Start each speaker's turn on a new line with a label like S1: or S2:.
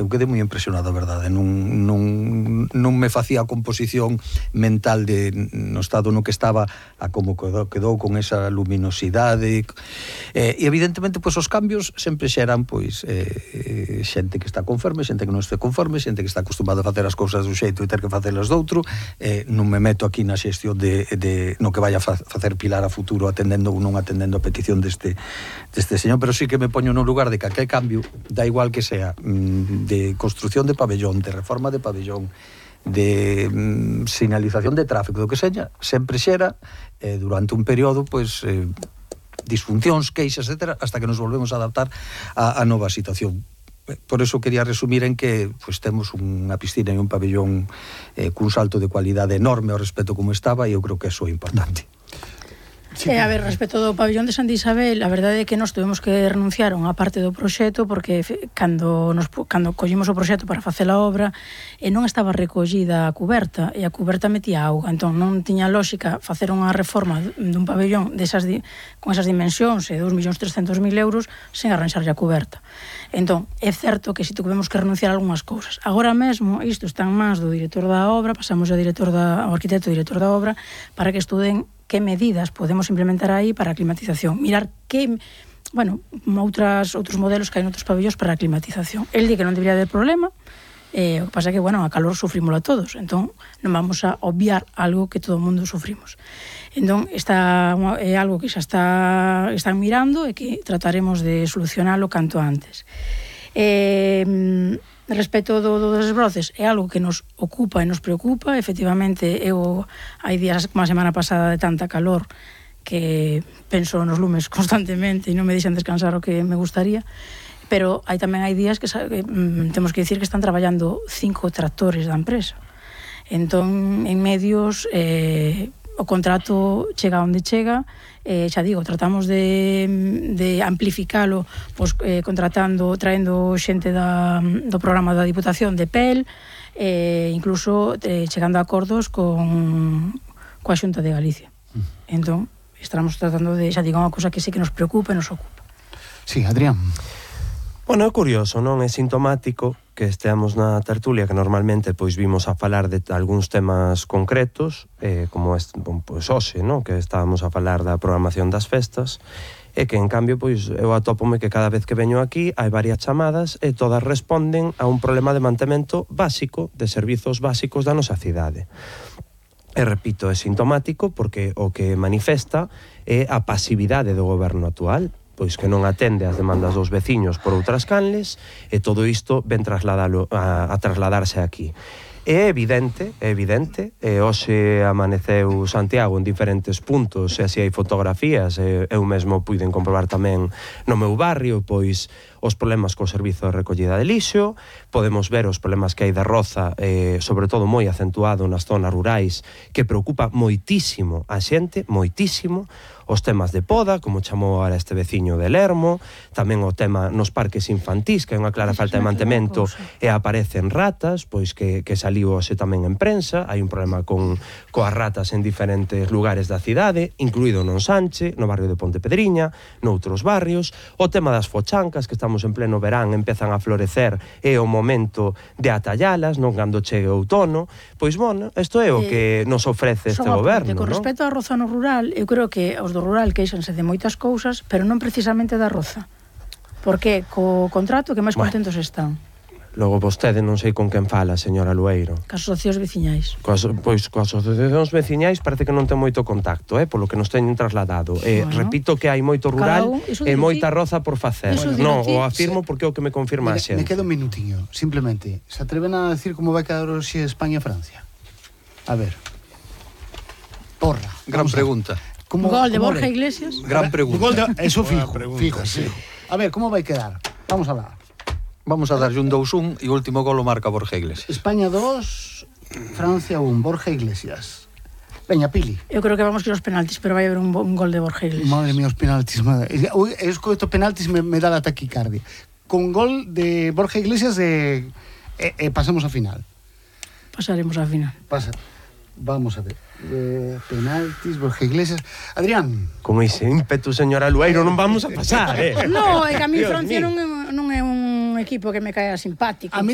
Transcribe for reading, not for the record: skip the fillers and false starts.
S1: eu quedei moi impresionado, a verdade. Non me facía a composición mental no estado no que estaba a como quedou con esa luminosidade. E evidentemente, pois, os cambios sempre xeran, pois, xente que está conforme, xente que non este conforme, xente que está acostumado a facer as cousas dun xeito e ter que facelas doutro. Non me meto aquí na xestión de no que vaya a facer Pilar a futuro atendendo ou non atendendo a petición deste señor, pero sí que me poño no lugar de que aquel cambio, da igual que sea de construción de pabellón, de reforma de pabellón, de sinalización de tráfico, do que seña, sempre xera durante un período, pois, disfuncións, queixas, etc., hasta que nos volvemos a adaptar a nova situación. Por eso quería resumir en que, pois, temos unha piscina e un pabellón cun salto de cualidade enorme ao respecto como estaba, e eu creo que eso é importante.
S2: Sí, a ver, respecto do pabellón de Santa Isabel, a verdade é que nós tuvemos que renunciar a unha parte do proxecto porque cando collimos o proxecto para facer a obra non estaba recollida a cuberta, e a cuberta metía auga, entón non tiña lógica facer unha reforma dun pabellón con esas dimensións e 2.300.000 euros sen arranxarlle a cuberta. Entón, é certo que si tuvemos que renunciar a algunhas cousas. Agora mesmo, isto está en mans do director da obra, pasamos ao arquitecto e director da obra para que estuden que medidas podemos implementar aí para a climatización. Mirar que, outros modelos que hai noutros pabellóns para a climatización. El di que non debería haber problema, o que pasa é que, a calor sufrímola todos, entón non vamos a obviar algo que todo o mundo sufrimos. Entón, é algo que xa están mirando e que trataremos de solucionalo canto antes. Respecto dos desbroces, é algo que nos ocupa e nos preocupa. Efectivamente, hai días como a semana pasada de tanta calor que penso nos lumes constantemente e non me deixan descansar o que me gustaría, pero tamén hai días que temos que dicir que están traballando 5 tractores da empresa. Entón, en medios, o contrato chega onde chega. Xa digo, tratamos de amplificalo, pois, traendo xente do programa da Diputación de PEL, incluso chegando a acordos coa Xunta de Galicia. Entón, estamos tratando de, xa digo, unha cousa que sí que nos preocupa e nos ocupa.
S3: Sí, Adrián.
S4: Bueno, é curioso, non? É sintomático que esteamos na tertulia que normalmente pois vimos a falar de algúns temas concretos, como pois hoxe, non? Que estábamos a falar da programación das festas, e que en cambio pois eu atópome que cada vez que veño aquí hai varias chamadas e todas responden a un problema de mantemento básico de servizos básicos da nosa cidade. E repito, é sintomático porque o que manifesta é a pasividade do goberno actual, pois que non atende as demandas dos veciños por outras canles, e todo isto ven a trasladarse aquí. É evidente, hoxe amaneceu Santiago en diferentes puntos, e así hai fotografías, eu mesmo puiden comprobar tamén no meu barrio, pois os problemas co servizo de recollida de lixo, podemos ver os problemas que hai de roza, sobre todo moi acentuado nas zonas rurais, que preocupa moitísimo a xente, moitísimo, os temas de poda, como chamou ahora este veciño de Lermo, tamén o tema nos parques infantís, que é unha clara falta de mantemento e aparecen ratas, pois que saliu hoxe tamén en prensa, hai un problema coas ratas en diferentes lugares da cidade, incluído no Ensanche, no barrio de Pontepedriña, noutros barrios, o tema das fochancas, que estamos en pleno verán, empezan a florecer, é o momento de atallalas, non cando chegue o outono, pois, bueno, isto é o que nos ofrece este goberno, non?
S2: Con respecto á roza no rural, eu creo que os do rural queixanse de moitas cousas, pero non precisamente da roza. Porque co contrato que máis contentos están.
S4: Logo vostede non sei con quen fala, señora Lueiro.
S2: Cas asociacións veciñais.
S4: Coas asociacións veciñais parece que non ten moito contacto, polo que nos teñen trasladado. Repito que hai moito rural e moita roza por facer. Non, o afirmo porque é o que me confirma a xente.
S3: Me queda un minutiño, simplemente. Se atreven a decir como vai quedar hoxe España e Francia? A ver. Porra.
S1: Gran pregunta.
S2: Gol de Borja Iglesias.
S1: Gran pregunta.
S3: Eso fijo. A ver, como vai quedar? Vamos a hablar.
S1: Vamos a darlle un 2-1 e o último gol o marca Borja Iglesias.
S3: España 2, Francia 1, Borja Iglesias. Veña, Pili.
S2: Eu creo que vamos que os penaltis, pero vai haber un gol de Borja Iglesias.
S3: Madre mía, os penaltis. Es que estos penaltis me da la taquicardia. Con gol de Borja Iglesias pasamos a final.
S2: Pasaremos a final.
S3: Vamos a ver. Penaltis, Borja Iglesias. Adrián.
S4: Con ese ímpetu, señora Lueiro, non vamos a pasar,
S2: No, é que a mí Francia non é un equipo que me caia simpático.